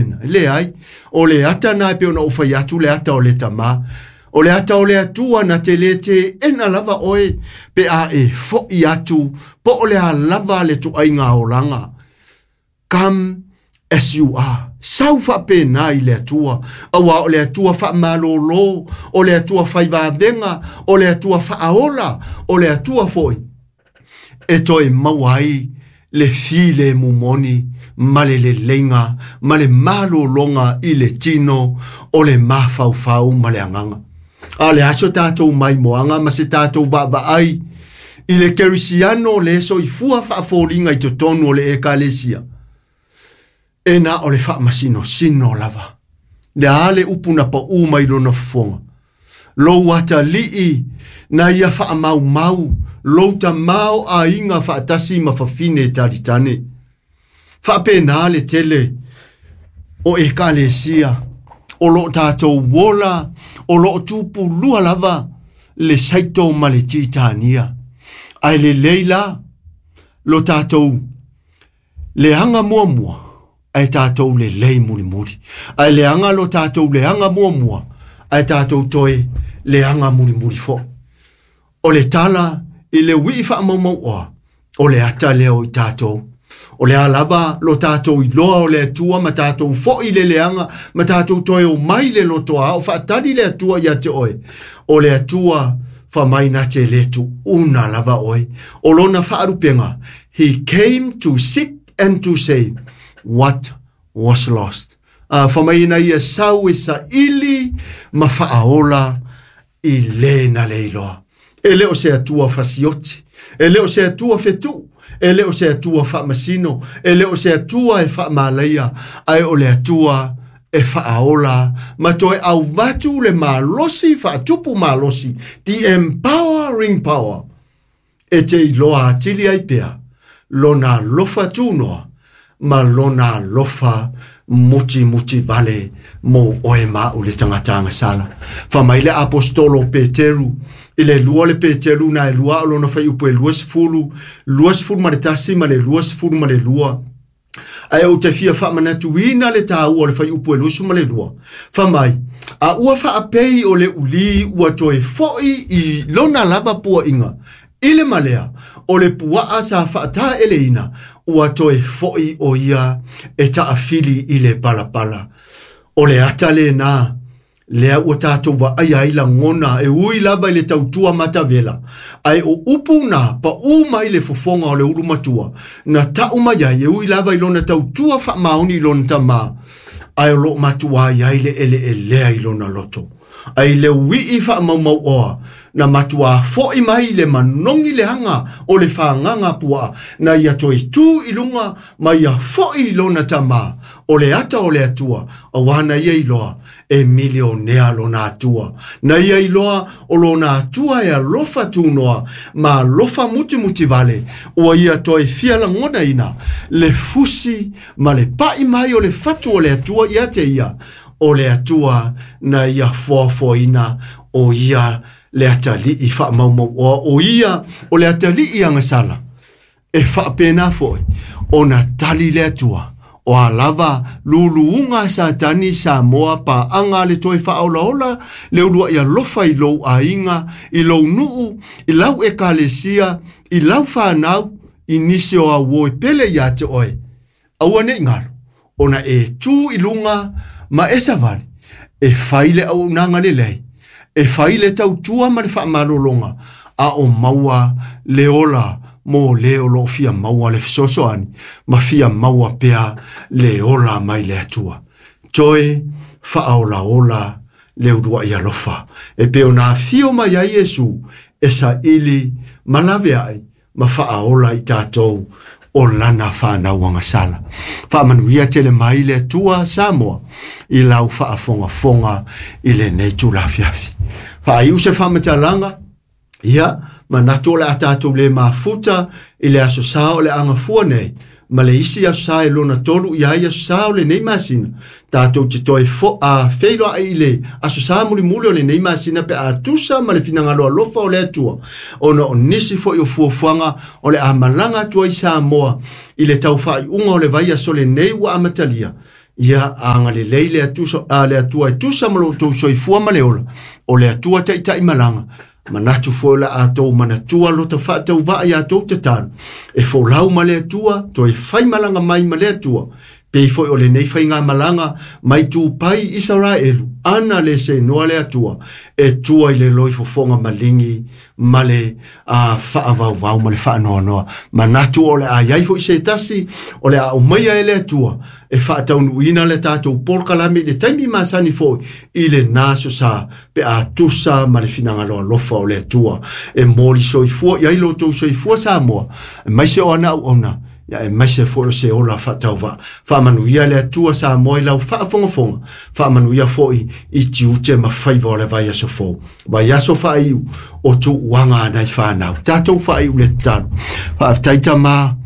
Leai, o le ata na e pei ona ou fai atu le ata o le tamā. O le ata o le Atua na te le teena lava oe pe a e fo'i atu po o le a lava le tuaiga olaga. Come as you are. Sau faapena i le Atua, auā o le Atua faamalōlō, o le Atua faivaavega, o le Atua faaola, o le Atua foi e toe maua ai le filemu moni ma le leleiga ma le malologa i le tino o le mafaufau ma le agaga. A o le aso tatou maimoaga ma se tatou vaavaai i le kerisiano le soifua faafoliga i totonu o le ekalesia, e na o le faamasinosino lava. Le a le upu na paū mai lona fofoga. Lou atalii na ia faamaumau, lou tamao aiga faatasi ma fafine e talitane. Faapena le tele o ekalesia, o loo tatou ola, o loo tupulua lava le saito ma le titania. Ae lelei la lo tatou leaga muamua, ae tatou lelei mulimuli. Ae leaga lo tatou leaga muamua, ae tatou toe leaga mulimuli foi. O le tala i le uii faamaumauoa, o le ata lea o i tatou. O le a lava lo tatou iloa o le Atua ma tatou foi le leaga, ma tatou toe o mai le lotoa o faatali le Atua ia te oe. O le Atua fai mai na te le tuuna lava oe. O lona faalupega, he came to seek and to save what was lost. Fai mai na ia sau e saili ma faaola i le na le iloa. E le o se Atua fasioti, e le o se Atua fetuu, e le o se Atua faamasino, e le o se Atua e faamalaia, ae o le Atua e faaola ma toe auvatu le malosi faatupu malosi, the empowering power, e te iloa atili ai pea lona alofa tunoa ma lona alofa muti muti vale mo oe ma o le tagata agasala. Fai mai le apostolo Peteru, i le lua le Peteru na e lua o lona fuaiupu e 20, 21 ma le 22. Ae ou te fia faamanatuina le tāua o le fuaiupu e 22. Fai mai, a ua faapei o le ulī ua toe fo'i i lona lava puaʻiga, i le malea, o le puaa sa faataeleina, ua toe fo'i o ia e taafili i le palapala. O le ata lena, lea ua tatou vaaia ai lagona e ui lava i le tautua matavela. Ae o upu na paū mai le fofoga o le ulu matua, na tau mai ai e ui lava i lona tautua faamaoni i lona tamā, ae o loo matua ai ai le eleelea i lona loto. Ai le uii faamaumauoa, na matua fo'i mai le manogi leaga o le fagaga puaa, na ia toe tu i luga ma ia fo'i i lona tamā. O le ata o le Atua, auā na ia iloa e milionea lona Atua. Na ia iloa o lona Atua e alofa tunoa ma alofa mutimuti vale, ua ia toe fia lagonaina le fusi ma le pa'i mai o le fatu o le Atua ia te ia. O le Atua na ia foafoaina o ia le atalii faamaumauoa, o ia o le atalii agasala. E faapena foi ona tali le Atua. O a lava luluuga a Satani Samoa paaga le toe faaolaola le uluai alofa i lou aiga, i lou nuu, i lau ekalesia, i lau fanau, i nisi o auo e pele ia te oe. Aua nei galo, ona e tu i luga ma e savali, e fai le auaunaga lelei, e fai le tautua ma le faamalologa, a o maua le ola mo le o loo fia maua le fesoasoani, ma fia maua pea le ola mai le Atua. Toe faaolaola le uluai alofa. E pei ona afio mai ai Iesu e saili ma laveai ma faaola i tatou o lana whanau agasala. Faamanuia tele mai le Atua Samoa i lau faafogafoga i lenei tulafiafi. Faaiu se faamatalaga, ia, manatu o le a tatou le mafuta i le aso sa o le agafua nei, ma le isi aso sa e lona tolu i ai aso sa o lenei masina. Tatou te toe feiloai i le aso sa mulimuli o lenei masina pe a tusa ma le finagalo alofa o le Atua. Ona o nisi foi o fuafuaga o le a malaga atu ai Samoa i le taufaaiuga o le vaiaso lenei ua amatalia. Ia agalelei le Atua e tusa ma lo outou soifua ma le ola, o le Atua taitai malaga. Manatu foi la atou manatua lo ta faatauvaa ia tou tatalo. E folau ma le Atua, toe fai malaga mai ma le Atua. Pei foi o lenei faigamalaga mai tupai Isaraelu, ana le seinoa le Atua, e tua i le loifofoga maligi ma le faavauvau ma le faanoanoa. Manatu o le a iai foi se tasi, o le a aumaia e le Atua, e faataunuuina le tatou polokalame i le taimi masani foi, i le naso sa, pe a tusa ma le finagalo alofa o le Atua. E moli soifua, i ai lo tou soifua Samoa, e mai se o ana au ona, ia e mai se foi o se ola faatauvaa. Faamanuia le Atua Samoa i lau faafogafoga, faamanuia foi i tiute ma faiva o le vaiaso fou. Vaiaso faaiu o tuuaga a nai fanau. Tatou faaiu le tatalo. Faafetai Tama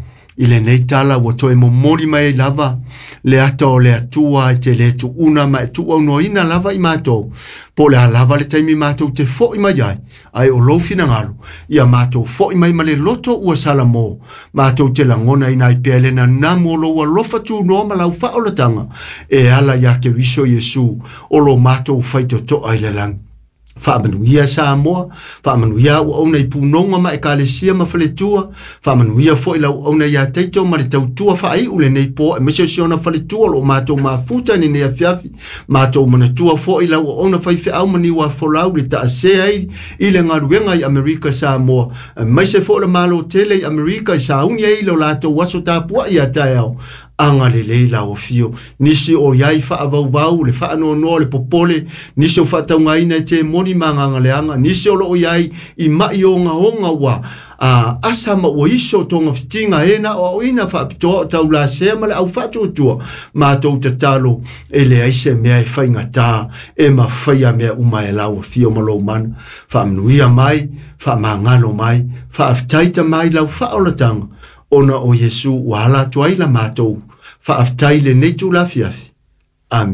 i lenei tala ua toe momoli mai ai lava le ata o le Atua e te le tuuna ma e tuuaunoaina lava i matou. Po o le a lava le taimi matou te foi mai ai, ai o lou finagalo, ia matou foi mai ma le loto ua salamo, matou te lagona ina ai pea le nanamu o lou alofa tunoa ma lau faaolataga, e ala ia Keriso Iesu o lo matou faitotoa i le lagi. Faamanuia Samoa, faamanuia au auauna i punoga ma ekalesia ma faletua, faamanuia foi lau auauna ia Taito ma le tautua faaiu lenei po, aemaise o si ona faletua o lo matou mafuta i lenei afiafi, matou manatua foi lau auauna faifeau ma niuafolau le taasea ai i le galuega i Amerika Samoa, aemaise foi le malo tele i Amerika i sauni ai lo latou aso tapuai ia taeao. Agalelei lau afio, nisi o iai faavauvau, le faanoanoa, le popole, nisi o faataugaina e te moni ma agagaleaga, nisi o loo iai i mai ogaoga ua asa ma ua iso tonga fitiga e na o aoina faapitoa o taulasea ma le au faatuatua. Matou tatalo e leai se mea e faigata e mafaia mea uma e lau afio ma lou mana. Faamanuia mai, faamagalo mai, faafetaita mai lau faaolataga, ona o Iesu ua ala atu ai la matou faafetai lenei tulafiafi.